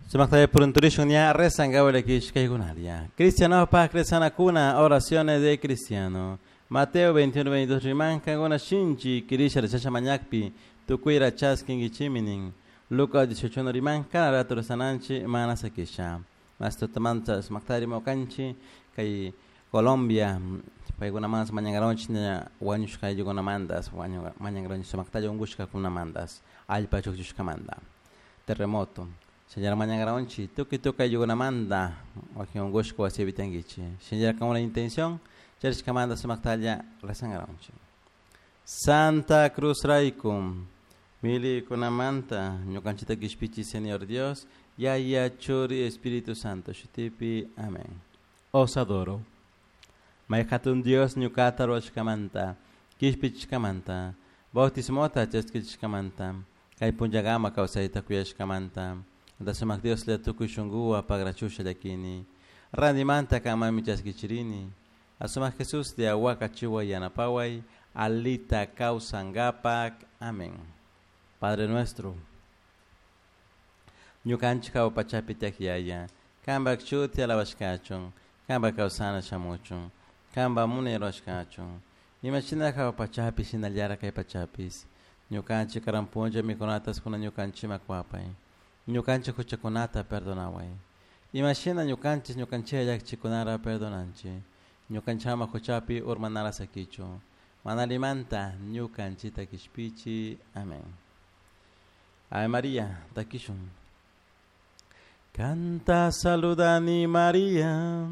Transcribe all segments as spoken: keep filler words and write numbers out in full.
Sumakta purunturishun ña rezangawa kishkaykunaria. Cristiano pa kuna oraciones de cristiano. Mateo veintiuno veintidós riman kankuna shinchi kirisha rechasha mañakpi tukuyra chaskinkichiminin. Lucas dieciocho riman kana rato rezananchi mana sakisha. Mas tutamanta sumaktari mokanchi kay Colombia paykunamantas mañankaronchik ña wañushka ayllukunamantas mañankaronchik sumaktalla unkushkakunamantas allpa chukchushkamanta terremoto. Señora mañankaronchik tukuy tukuy ayllukunamanta wakin unkushka wasipi tiyankichik. Señora con una intención charishkamanta sumaktalla rezankaronchik. Santa Cruz rayku milikunamanta ñukanchikta kishpichi Señor Dios Yaya Churi Espíritu Santo shutipi amén. Os adoro. May hatun Dios ñuqata ruwashkamanta, kishpichishkamanta, bautismota chaskichishkamanta, kay punllakama kawsayta kuyashkamanta, sumaq Dioslla tukuy shunquwan pagrachusha llakini, randimanta kanmanmi chaskichirini, asumaq Jesus de awakachiwa yanapaway, alita kawsankapak. Amén. Padre nuestro, ñukanchik hawa pachapi tiyak yaya, kanpak shuti alabashkachun, kanpak kawsana shamuchun, kanpa munay ruwashkachun, imashina hawa pachapi shinallara kay pachapis, ñukanchik karan punlla mikunatas kuna ñukanchikman kuwapay, ñukanchik huchakunata perdonaway, imashina ñukanchik ñukanchikta llakichikunara perdonanchik, ñukanchikman huchapi urmanara sakichu, mana allimanta ñukanchikta kishpichi. Amén. Ave María, takishun. Canta saludani María,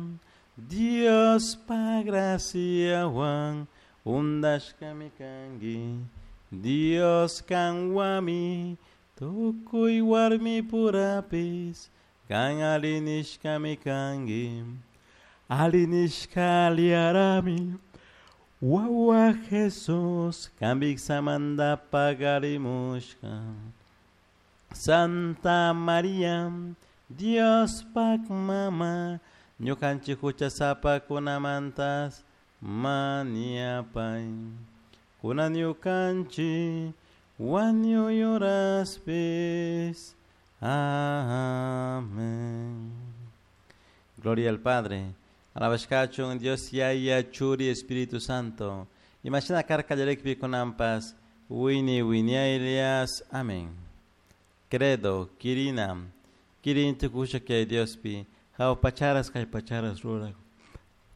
Dios pa graciawan undashkami kanki, Dios kanwami tukuy warmi purapis, kan alinishkami kanki, alinishka aliarami, wawa Jesus, kanbiksamanta pagarimushka. Santa María, Dios pak mama, ñukanchik huchasapakunamantas maniapay, kunan ñukanchik wañuyuraspis. Amén. Gloria al Padre, alabashkachun Dios Yaya Churi Espíritu Santo. Imashina karka llarekpi kunanpas wini winiaylias. Amén. Credo, kirina, kirin tukusha que Diospi, hawa pacharas kay pacharas ruraq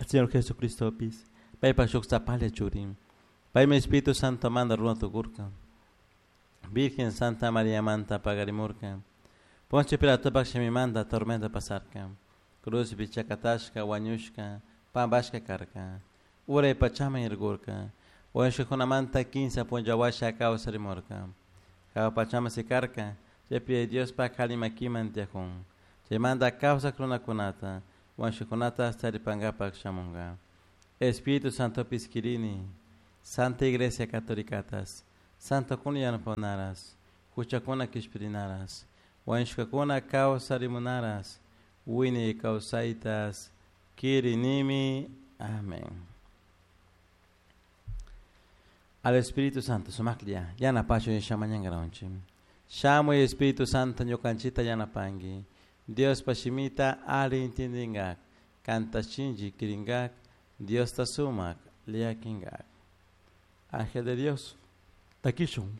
Señor Jesucristopis, paypa shuk sapalla churin, paymi Espíritu Santo manda runa tukurka, Virgen Santa María manta pagarimurka, Poncio Pilatopak shimimanta tormenta pasarka, cruzpi chakatashka wañushka, pampashka karka, uray pachaman irkurka, wañushkakunamanta kinsa punlla washa kawsarimurka, hawa pachaman sikarka, chaypi Diospak alli makiman tiyakun, chaymanta kawsak runakunata, wañushkakunata taripankapak shamunka. Espíritu Santopis kirini, Santa Iglesia Católicatas, Santokuna yanapanaras, huchakuna kishpirinaras, wañushkakuna kawsarimunaras, wiñay kawsaytas kirinimi. Amén. Al Espíritu Santo sumaklla yanapachun nishamañankaronchik. Shamuy Espíritu Santo ñukanchikta yanapanki, Diospa shimita alli intindinkak, kanta shinchi kirinkak, Diosta sumak llakinkak. Ángel de Dios, takishun.